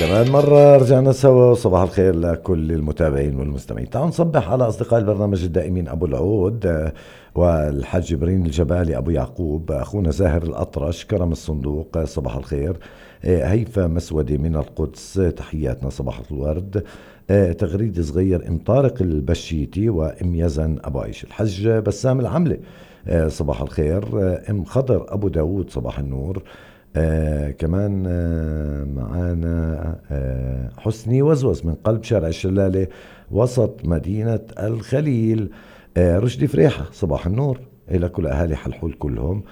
كمان مرة رجعنا سوا. صباح الخير لكل المتابعين والمستمعين. تعالوا نصبح على أصدقاء البرنامج الدائمين أبو العود والحاج جبرين الجبالي أبو يعقوب، أخونا زاهر الأطرش، كرم الصندوق صباح الخير، هيفا مسودي من القدس تحياتنا صباح الورد، تغريد صغير ام طارق البشيتي وام يزن أبو عيش، الحج بسام العملة صباح الخير، ام خضر أبو داود صباح النور، كمان معانا حسني وزوز من قلب شارع الشلالة وسط مدينة الخليل، رشدي فريحة صباح النور إلى كل أهالي حلحول كلهم،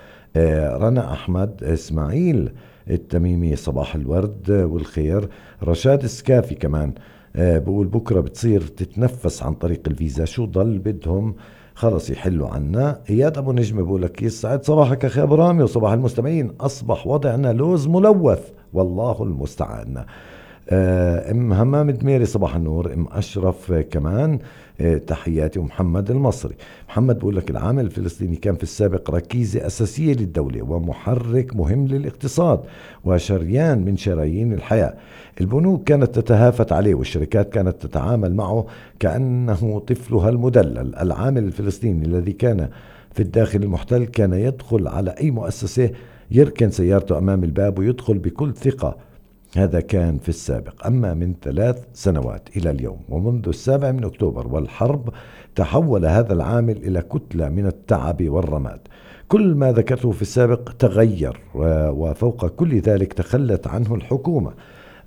رنا أحمد إسماعيل التميمي صباح الورد والخير، رشاد السكافي كمان بقول بكرة بتصير تتنفس عن طريق الفيزا، شو ضل بدهم خلص يحلوا عنا. اياد ابو نجم بقولك يسعد صباحك اخي ابو رامي وصباح المستمعين، اصبح وضعنا لوز ملوث والله المستعان. ام همام دميري صباح النور، ام اشرف كمان تحياتي، ومحمد المصري. محمد بقولك العامل الفلسطيني كان في السابق ركيزة اساسية للدولة ومحرك مهم للاقتصاد وشريان من شرايين الحياة. البنوك كانت تتهافت عليه والشركات كانت تتعامل معه كأنه طفلها المدلل. العامل الفلسطيني الذي كان في الداخل المحتل كان يدخل على أي مؤسسة يركن سيارته أمام الباب ويدخل بكل ثقة. هذا كان في السابق. أما من 3 سنوات إلى اليوم ومنذ 7 أكتوبر والحرب تحول هذا العامل إلى كتلة من التعب والرماد. كل ما ذكرته في السابق تغير، وفوق كل ذلك تخلت عنه الحكومة،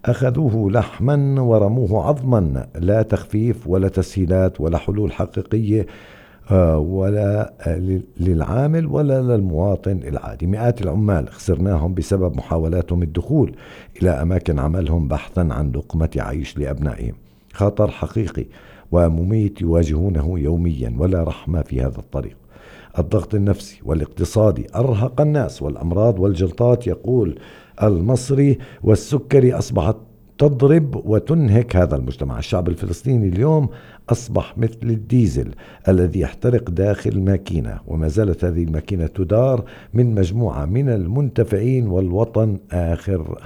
أخذوه لحما ورموه عظما، لا تخفيف ولا تسهيلات ولا حلول حقيقية ولا للعامل ولا للمواطن العادي. مئات العمال خسرناهم بسبب محاولاتهم الدخول إلى أماكن عملهم بحثا عن لقمة عيش لأبنائهم. خطر حقيقي ومميت يواجهونه يوميا ولا رحمة في هذا الطريق. الضغط النفسي والاقتصادي أرهق الناس، والأمراض والجلطات يقول المصري والسكري أصبحت تضرب وتنهك هذا المجتمع. الشعب الفلسطيني اليوم أصبح مثل الديزل الذي يحترق داخل ماكينة، وما زالت هذه الماكينة تدار من مجموعة من المنتفعين، والوطن آخر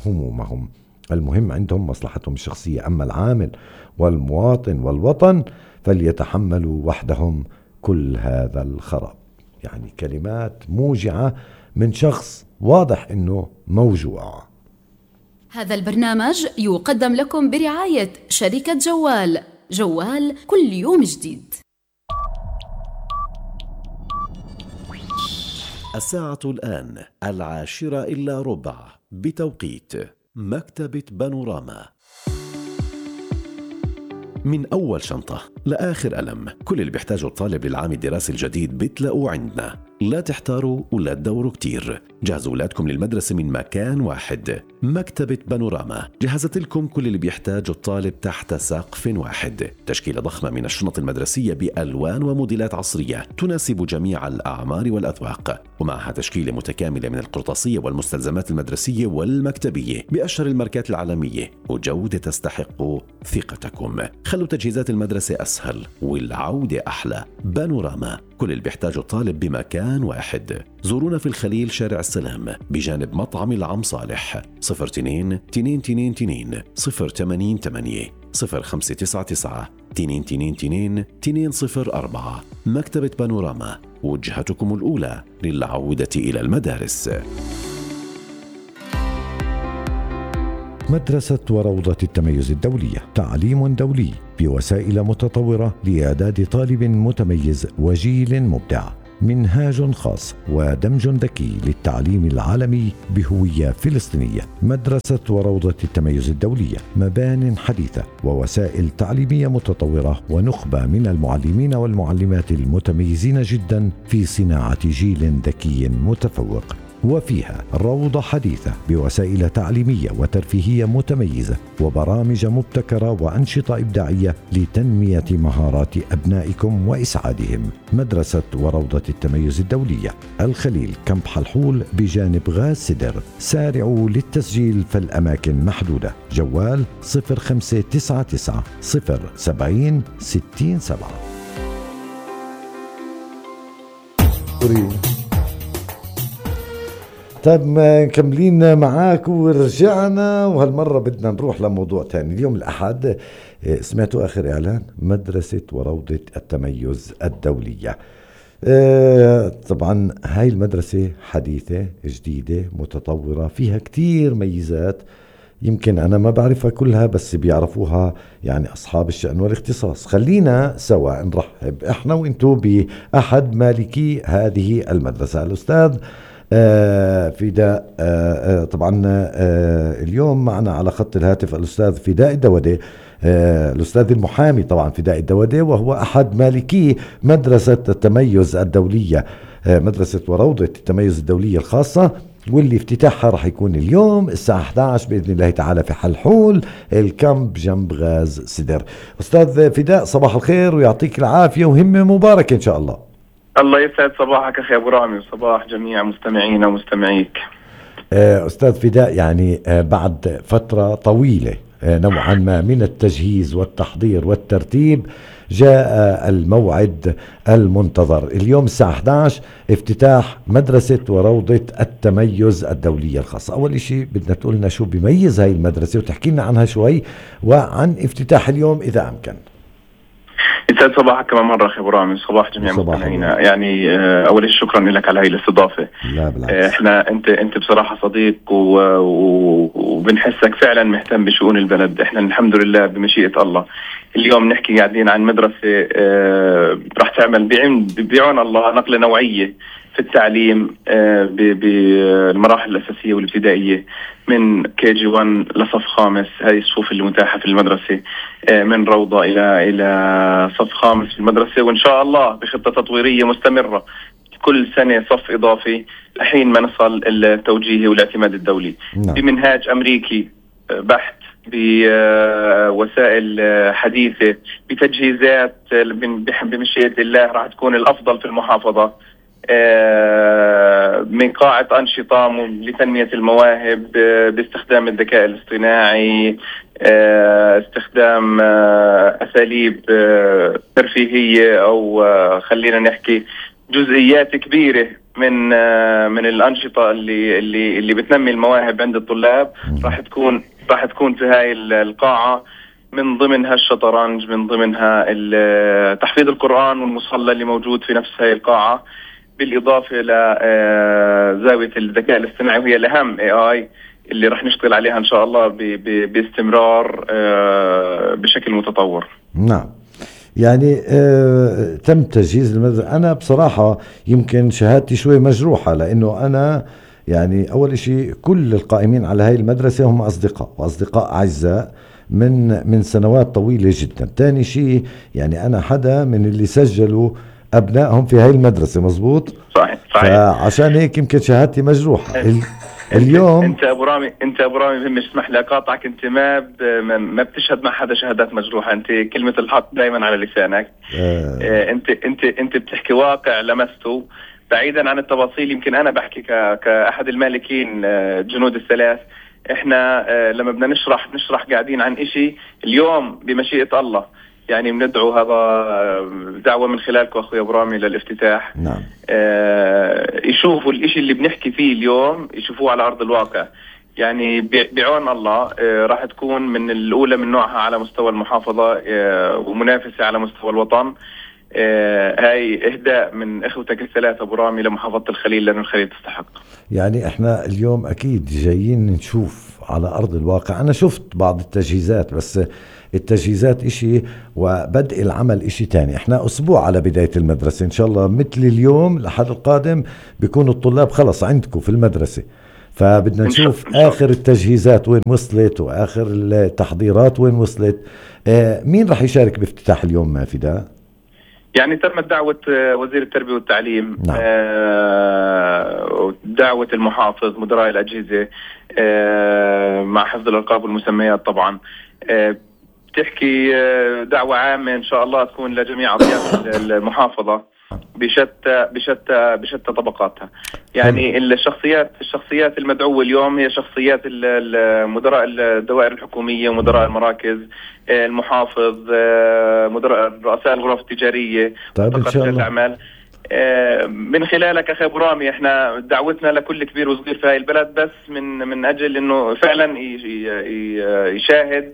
همومهم. المهم عندهم مصلحتهم الشخصية، أما العامل والمواطن والوطن فليتحملوا وحدهم كل هذا الخراب. يعني كلمات موجعة من شخص واضح إنه موجوع. هذا البرنامج يقدم لكم برعاية شركة جوال. جوال كل يوم جديد. الساعة الآن 10:10 بتوقيت مكتبة بانوراما. من أول شنطة لآخر قلم، كل اللي بيحتاجه الطالب للعام الدراسي الجديد بتلاقوه عندنا. لا تحتاروا ولا تدوروا كتير، جهزوا أولادكم للمدرسة من مكان واحد. مكتبة بانوراما جهزت لكم كل اللي بيحتاجه الطالب تحت سقف واحد. تشكيلة ضخمة من الشنط المدرسية بألوان وموديلات عصرية تناسب جميع الأعمار والأذواق، ومعها تشكيلة متكاملة من القرطاسية والمستلزمات المدرسية والمكتبية بأشهر الماركات العالمية، وجودة تستحق ثقتكم. خلوا تجهيزات المدرسة أسهل والعودة أحلى. بانوراما، كل اللي بيحتاجه الطالب بمكان واحد. زورونا في الخليل شارع السلام بجانب مطعم العم صالح. 02-222-088 0599 222-204. مكتبة بانوراما، وجهتكم الأولى للعودة إلى المدارس. مدرسة وروضة التميز الدولية، تعليم دولي بوسائل متطورة لإعداد طالب متميز وجيل مبدع. منهاج خاص ودمج ذكي للتعليم العالمي بهوية فلسطينية. مدرسة وروضة التميز الدولية، مبان حديثة ووسائل تعليمية متطورة ونخبة من المعلمين والمعلمات المتميزين جدا في صناعة جيل ذكي متفوق. وفيها روضة حديثة بوسائل تعليمية وترفيهية متميزة وبرامج مبتكرة وأنشطة إبداعية لتنمية مهارات أبنائكم وإسعادهم. مدرسة وروضة التميز الدولية، الخليل كامب حلحول بجانب غاز سدر. سارعوا للتسجيل فالأماكن محدودة. جوال 0599 070 67. طيب مكملين معاك ورجعنا، وهالمرة بدنا نروح لموضوع تاني. اليوم الأحد سمعتوا آخر إعلان مدرسة وروضة التميز الدولية. طبعا هاي المدرسة حديثة جديدة متطورة، فيها كتير ميزات يمكن أنا ما بعرفها كلها، بس بيعرفوها يعني أصحاب الشأن والاختصاص. خلينا سوا نرحب إحنا وإنتو بأحد مالكي هذه المدرسة، الأستاذ فداء. طبعا اليوم معنا على خط الهاتف الأستاذ فداء الدودي، الأستاذ المحامي طبعا فداء الدودي، وهو أحد مالكي مدرسة التميز الدولية، مدرسة وروضة التميز الدولية الخاصة، واللي افتتاحها راح يكون اليوم الساعة 11 بإذن الله تعالى في حلحول الكامب جنب غاز سدر. أستاذ فداء صباح الخير ويعطيك العافية وهمة مباركة إن شاء الله. الله يسعد صباحك أخي أبو رامي وصباح جميع مستمعينا ومستمعيك. أستاذ فداء، يعني بعد فترة طويلة نوعا ما من التجهيز والتحضير والترتيب جاء الموعد المنتظر. اليوم الساعة 11 افتتاح مدرسة وروضة التميز الدولية الخاصة. أول شيء بدنا تقول لنا شو بيميز هاي المدرسة وتحكي لنا عنها شوي وعن افتتاح اليوم إذا أمكن. يسعد صباحك كمان مرة أخي أبو رامي، صباح جميع مستمعينا. يعني أول شيء شكرا لك على هاي الاستضافة. لا بالعكس، احنا انت بصراحة صديق وبنحسك فعلا مهتم بشؤون البلد. احنا الحمد لله بمشيئة الله اليوم نحكي قاعدين عن مدرسة راح تعمل بعون الله نقلة نوعية في التعليم بالمراحل الأساسية والابتدائية من KG1 لصف خامس. هذه الصفوف اللي متاحة في المدرسة، من روضة إلى صف خامس في المدرسة، وإن شاء الله بخطة تطويرية مستمرة كل سنة صف إضافي لحين ما نصل التوجيهي والاعتماد الدولي. نعم. بمنهاج أمريكي بحت، بوسائل حديثة، بتجهيزات بمشيئة الله راح تكون الأفضل في المحافظة، من قاعة أنشطة لتنمية المواهب باستخدام الذكاء الاصطناعي، استخدام أساليب ترفيهية، أو خلينا نحكي جزئيات كبيرة من الأنشطة اللي بتنمي المواهب عند الطلاب. راح تكون في هاي القاعة، من ضمنها الشطرنج، من ضمنها تحفيظ القرآن والمصلى اللي موجود في نفس هاي القاعة، بالإضافة لزاوية الذكاء الاصطناعي وهي الأهم AI اللي راح نشتغل عليها إن شاء الله باستمرار بشكل متطور. نعم. يعني تم تجهيز المدرسة. أنا بصراحة يمكن شهادتي شوي مجروحة، لأنه أنا يعني أول شيء كل القائمين على هاي المدرسة هم أصدقاء أعزاء من سنوات طويلة جدا. تاني شيء يعني أنا حدا من اللي سجلوا أبنائهم في هاي المدرسة، مزبوط؟ صحيح. فعشان هيك يمكن شهادتي مجروحة. اليوم انت ابو رامي بهم اسمح لي اقاطعك. انت ما بتشهد مع حدا شهادات مجروحه. انت كلمه الحق دائما على لسانك. انت بتحكي واقع لمسته بعيدا عن التفاصيل. يمكن انا بحكي كاحد المالكين جنود الثلاث. احنا لما بدنا نشرح قاعدين عن اشي اليوم بمشيئه الله، يعني بندعو هذا دعوة من خلالكم أخوي أبو رامي للافتتاح. نعم. يشوفوا الإشي اللي بنحكي فيه اليوم، يشوفوه على أرض الواقع. يعني بعون الله راح تكون من الأولى من نوعها على مستوى المحافظة، ومنافسة على مستوى الوطن. هاي إهداء من إخوتك الثلاثة أبو رامي لمحافظة الخليل، لأن الخليل تستحق. يعني إحنا اليوم أكيد جايين نشوف على أرض الواقع. أنا شفت بعض التجهيزات، بس التجهيزات إشي وبدء العمل إشي تاني. إحنا أسبوع على بداية المدرسة إن شاء الله، مثل اليوم الأحد القادم بيكونوا الطلاب خلص عندكم في المدرسة، فبدنا نشوف آخر التجهيزات وين وصلت وآخر التحضيرات وين وصلت. مين رح يشارك بافتتاح اليوم فداء؟ يعني تمت دعوة وزير التربية والتعليم. نعم. دعوة المحافظ، مدراء الأجهزة، مع حفظ الألقاب والمسميات طبعا. بتحكي دعوة عامة إن شاء الله تكون لجميع أطياف المحافظة بشتى طبقاتها. يعني الشخصيات المدعوة اليوم هي شخصيات مدراء الدوائر الحكومية ومدراء المراكز، المحافظ، مدراء رؤساء الغرف التجارية، طيب إن شاء الله. الأعمال. من خلالك أخي أبو رامي احنا دعوتنا لكل كبير وصغير في هاي البلد بس من أجل أنه فعلا يشاهد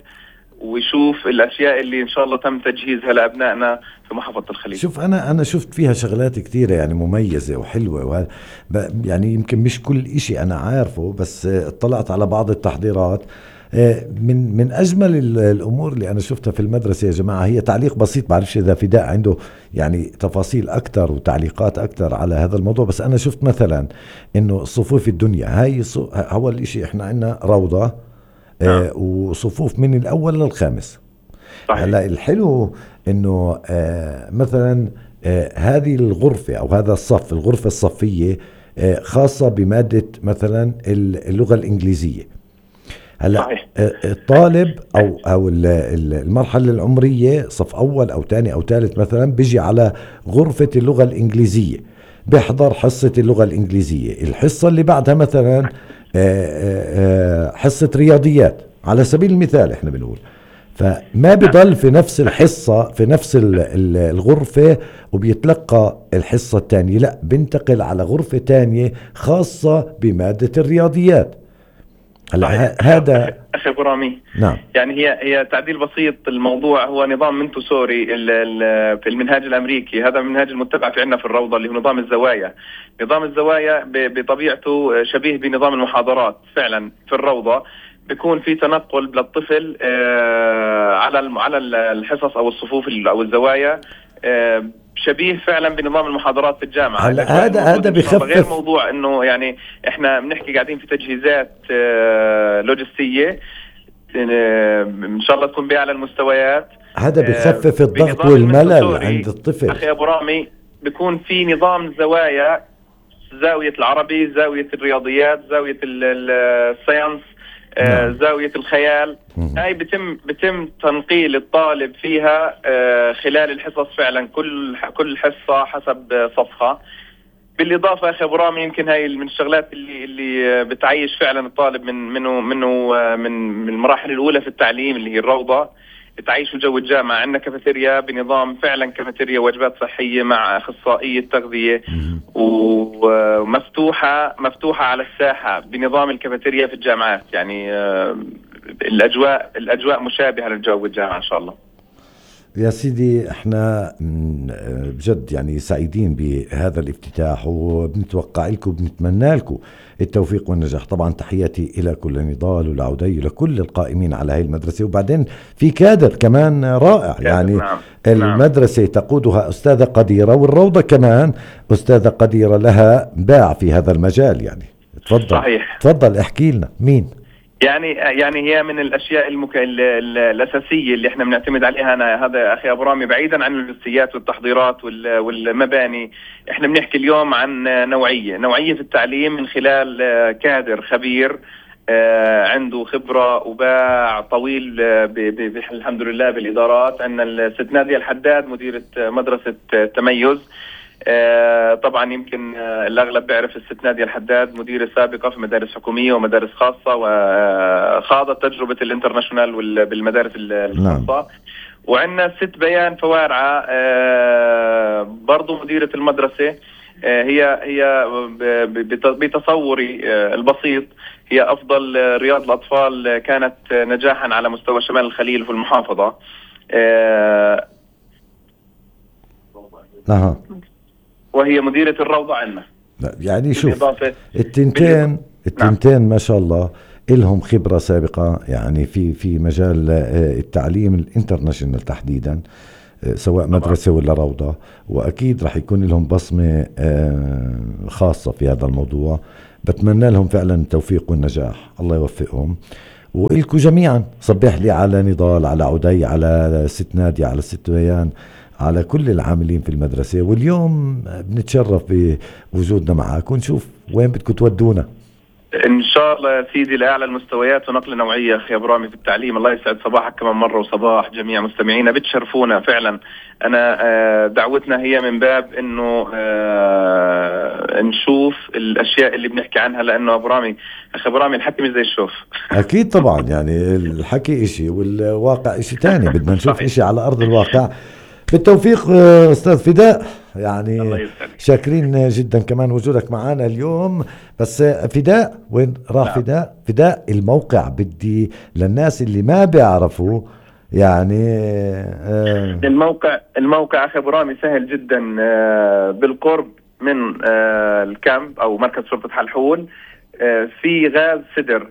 ويشوف الأشياء اللي إن شاء الله تم تجهيزها لأبنائنا في محافظة الخليل. شوف أنا شفت فيها شغلات كتيرة يعني مميزة وحلوة، يعني يمكن مش كل إشي أنا عارفه، بس اطلعت على بعض التحضيرات. من أجمل الأمور اللي أنا شفتها في المدرسة يا جماعة هي تعليق بسيط، بعرفش إذا فداء عنده يعني تفاصيل أكتر وتعليقات أكتر على هذا الموضوع، بس أنا شفت مثلا إنه صفوف الدنيا هاي أول إشي إحنا عندنا روضة وصفوف من الأول للخامس. هلا الحلو إنه مثلا هذه الغرفة أو هذا الصف، الغرفة الصفية خاصة بمادة مثلا اللغة الإنجليزية. هلا الطالب أو المرحلة العمرية صف أول أو تاني أو ثالث مثلا بيجي على غرفة اللغة الإنجليزية، بيحضر حصة اللغة الإنجليزية. الحصة اللي بعدها مثلا حصة رياضيات على سبيل المثال احنا بنقول، فما بضل في نفس الحصة في نفس الغرفة وبيتلقى الحصة الثانية، لا بنتقل على غرفة تانية خاصة بمادة الرياضيات. هلا هذا أخي أبو رامي نعم، يعني هي تعديل بسيط. الموضوع هو نظام منتسوري في المنهاج الأمريكي، هذا المنهاج المتبع في عندنا في الروضة اللي هو نظام الزوايا. نظام الزوايا بطبيعته شبيه بنظام المحاضرات فعلا في الروضة، بيكون في تنقل للطفل على الحصص أو الصفوف أو الزوايا، شبيه فعلا بنظام المحاضرات في الجامعة. هذا بخفف غير موضوع انه يعني احنا بنحكي قاعدين في تجهيزات لوجستية ان شاء الله تكون بأعلى المستويات. هذا بخفف الضغط والملل عند الطفل. اخي ابو رامي بيكون في نظام زوايا، زاوية العربي، زاوية الرياضيات، زاوية الساينس، زاوية الخيال. هاي بتم تنقيل الطالب فيها خلال الحصص فعلا، كل حصة حسب صفها. بالإضافة أخي أبو رامي يمكن هاي من الشغلات اللي بتعيش فعلا الطالب من المراحل الأولى في التعليم اللي هي الروضة، تعيش جو الجامعة. عندنا كافيتيريا بنظام فعلا كافيتيريا وجبات صحية مع أخصائية تغذية، ومفتوحة على الساحة بنظام الكافيتيريا في الجامعات. يعني الأجواء مشابهة للجو الجامعة إن شاء الله. يا سيدي احنا بجد يعني سعيدين بهذا الافتتاح، وبنتوقع لكم وبنتمنى لكم التوفيق والنجاح. طبعا تحياتي إلى كل نضال ولعدي ولكل القائمين على هاي المدرسة، وبعدين في كادر كمان رائع يعني. نعم. المدرسة تقودها أستاذة قديرة، والروضة كمان أستاذة قديرة لها باع في هذا المجال يعني. تفضل. صحيح. تفضل احكي لنا مين. يعني هي من الاشياء الاساسيه اللي احنا بنعتمد عليها. انا هذا اخي ابو رامي بعيدا عن اللوجستيات والتحضيرات والمباني، احنا بنحكي اليوم عن نوعيه في التعليم من خلال كادر خبير عنده خبره وباع طويل الحمد لله بالادارات. عندنا الست نادية الحداد مديره مدرسه تميز. طبعا يمكن الأغلب بيعرف الست نادية الحداد مديرة سابقة في مدارس حكومية ومدارس خاصة، وخاضت تجربة الانترناشونال بالمدارس الخاصة. وعندنا الست بيان فوارعة برضو مديرة المدرسة. هي بتصوري البسيط هي أفضل رياض الأطفال كانت نجاحا على مستوى شمال الخليل في المحافظة. وهي مديرة الروضة عنا. يعني شوف التنتين ما شاء الله إلهم خبرة سابقة يعني في مجال التعليم الانترناشنال تحديدا، سواء مدرسة ولا روضة، وأكيد رح يكون لهم بصمة خاصة في هذا الموضوع. بتمنى لهم فعلا التوفيق والنجاح، الله يوفقهم. وإلكم جميعا صبح لي على نضال، على عدي، على ست نادية، على الست بيان، على كل العاملين في المدرسة. واليوم بنتشرف بوجودنا معك، ونشوف وين بدكم تودونا إن شاء الله يا سيدي لأعلى المستويات ونقل نوعية أخي أبو رامي في التعليم. الله يسعد صباحك كمان مرة وصباح جميع مستمعينا، بتشرفونا فعلا. أنا دعوتنا هي من باب إنه نشوف الأشياء اللي بنحكي عنها، لأنه أبو رامي أخي أبو رامي الحكي مش زي الشوف. أكيد طبعا، يعني الحكي إشي والواقع إشي تاني، بدنا نشوف إشي على أرض الواقع. بالتوفيق أستاذ فداء. يعني الله يسعدك. شاكرين جدا كمان وجودك معنا اليوم. بس فداء وين راح؟ نعم. فداء الموقع بدي للناس اللي ما بيعرفوا يعني الموقع أخي أبو رامي سهل جدا، بالقرب من الكامب أو مركز شرطة حلحول، في غاز سدر.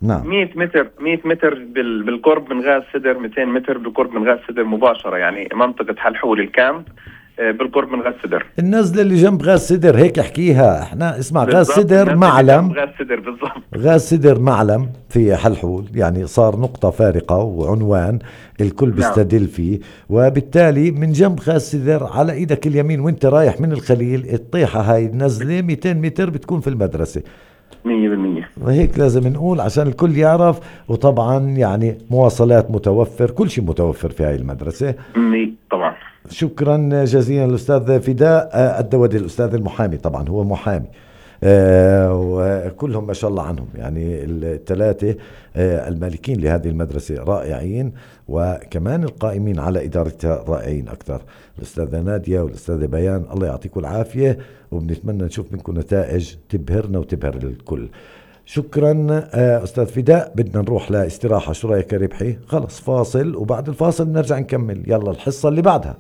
نعم 100 متر بالقرب من غاز سدر، 200 متر بالقرب من غاز سدر مباشرة، يعني منطقة حلحول الكامب بالقرب من غاز سدر. النزلة اللي جنب غاز سدر هيك احكيها احنا، اسمع غاز سدر معلم، غاز سدر بالضبط، غاز سدر معلم في حلحول، يعني صار نقطة فارقة وعنوان الكل بيستدل فيه. وبالتالي من جنب غاز سدر على ايدك اليمين وانت رايح من الخليل الطيحة هاي النزلة 200 متر بتكون في المدرسة 100%. وهيك لازم نقول عشان الكل يعرف. وطبعا يعني مواصلات متوفر، كل شيء متوفر في هاي المدرسة طبعا. شكرا جزيلا الأستاذ فداء الدودي، الأستاذ المحامي، طبعا هو محامي وكلهم ما شاء الله عنهم، يعني الثلاثة المالكين لهذه المدرسة رائعين، وكمان القائمين على إدارتها رائعين أكثر، الأستاذة نادية والأستاذة بيان. الله يعطيكم العافية، وبنتمنى نشوف منكم نتائج تبهرنا وتبهر الكل. شكرا أستاذ فداء. بدنا نروح لاستراحة، شو رأيك يا ربحي؟ خلص فاصل، وبعد الفاصل نرجع نكمل. يلا الحصة اللي بعدها.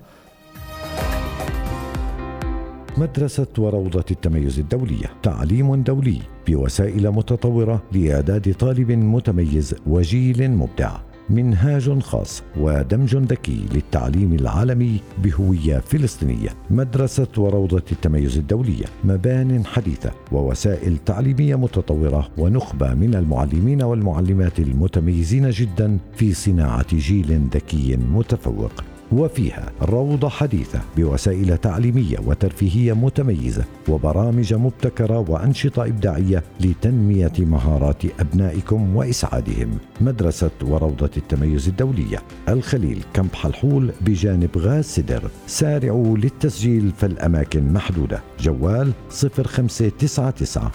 مدرسة وروضة التميز الدولية، تعليم دولي بوسائل متطورة لإعداد طالب متميز وجيل مبدع، منهاج خاص ودمج ذكي للتعليم العالمي بهوية فلسطينية. مدرسة وروضة التميز الدولية، مبان حديثة ووسائل تعليمية متطورة ونخبة من المعلمين والمعلمات المتميزين جدا في صناعة جيل ذكي متفوق. وفيها روضة حديثة بوسائل تعليمية وترفيهية متميزة وبرامج مبتكرة وأنشطة إبداعية لتنمية مهارات أبنائكم وإسعادهم. مدرسة وروضة التميز الدولية، الخليل، كامب حلحول بجانب غاز سدر. سارعوا للتسجيل فالأماكن محدودة. جوال 0599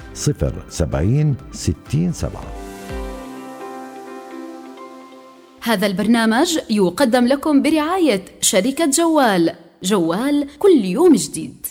070 607. هذا البرنامج يقدم لكم برعاية شركة جوال. جوال كل يوم جديد.